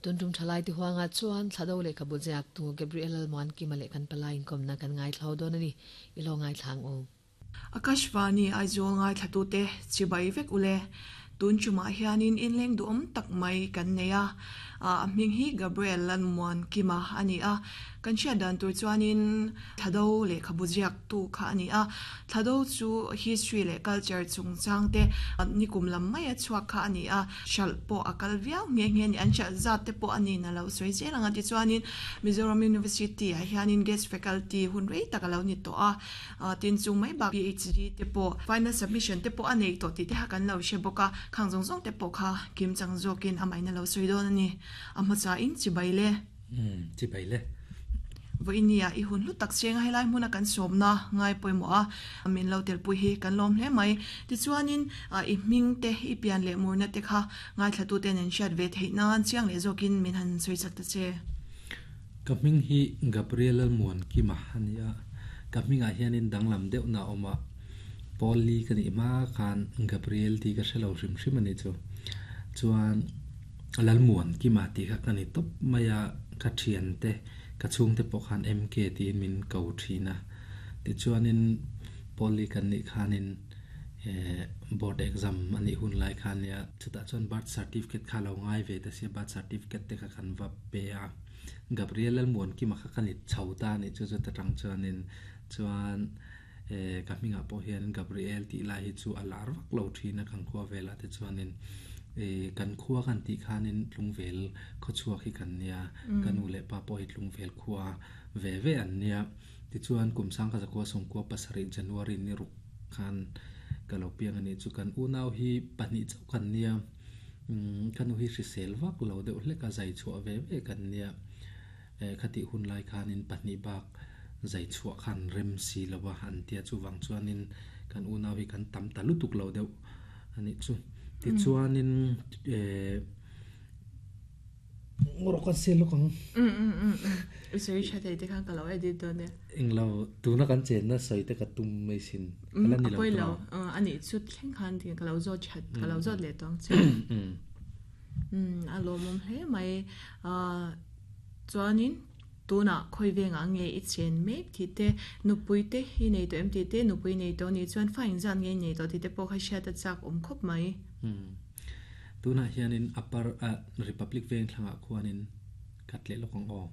Tun tum thalai ti huangah chuan Thlado lehkhabu ziaktu Gabriel Lalmuankima leh kan palai inkawmna kan ngaithlo dawn a ni. I lo ngaithla ang u. Akashvani Aizawl ngaithlatute chibai vek ule. Tun tumah hianin inleng duhawm tak mai kan nei a, a hming hi Gabriel Lalmuankima a ni a. Kan hriat dan tur chuanin Thlado lehkhabu ziaktu kha a ni a. Thlado chu history leh culture chungchang te nikum lam maia chhuak kha a ni a. Hralh pawh a kal viau nghe nghe a ni. An hralh zat te pawh a ni na lo sawi zel ang a. Tichuanin Mizoram University ah hianin guest faculty hun rei tak a lo ni tawh a. Tin chung mai bak PhD te pawh final submission te pawh a nei tawh tih te kha kan lo hre bawk a. Khang zawng zawng te pawh kha kim chang zawkin amahin a lo sawi dawn a ni. A hmasain chibai le. Umm, chibai le. Vawinia i hun hlu tak chenga helai hmuna kan sawmna ngai pawimawh a, min lo telpui hi kan lawm hle mai. Tichuanin i hming te, i pian leh murna te kha ngaithlatuten an hriat ve theih nan chiang leh zawkin min han sawi chak ta che. Ka hming hi Gabriel Lalmuankima a ni a, ka hmingah hianin danglam deuhna a awm a, Paul Lee ka nih hma khan Gabriel tih ka hre lo hrim hrim a nih chu. Chuan. Lalmuankima tih kha ka ni tawp mai a, ka thiante, ka chhungte pawh khan MK tiin min ko thin a. Tichuanin Poly kan nih khanin eh board exam a nih hun lai kha nia, chutah chuan birth certificate kha a lo ngai ve ta sia, birth certificate te kha kan va pe a. Gabriel Lalmuankima kha ka ni chho ta a nih chu, chuta tang chuanin chuan eh ka hmingah pawh hian Gabriel tih lai hi chu a lar vak lo thin a kan khua velah te chuanin eh kan khua kan tih khanin Tlungvel khawchhuak hi kan nia ka nu leh pa pawh hi Tlungvel khua ve ve an nia tichuan kum sangkha zakua sawmkua pasarih January ni ruk khan ka lo piang a nih chu kan unau hi pahnih chauh kan nia umm ka nu hi hrisel vak lo deuh hlek a zai chhuah ve ve kan nia. Eh khatih hun lai khanin pahnih bak zai chhuah khan rem si lo a an tia chuvang chuanin kan unau hi kan tam ta lutuk lo deuh a nih chu. Tichuanin eh rawh kan sel lawk ang. Um um um um i sawi tha thei te khan ka lo edit dawn e. Englo tuna kan chenna sawi te ka tum mai sin ka la ni lo tawh. A pawi lo a nih chu thleng khan ka lo zawt that ka lo zawt leh tawh ang che. Umm a lawmawm hle mai. Ahh chuanin tunah khawi vengah nge i chen mek tih te, nupui te i nei tawh em tih te, nupui nei tawh anih chuan fa engzat nge i nei tawh tih te pawh kha hriat a chak awm khawp mai. Umm tunah hianin Upper ah Republic veng thlangah khuanin ka tleh lawk ang aw.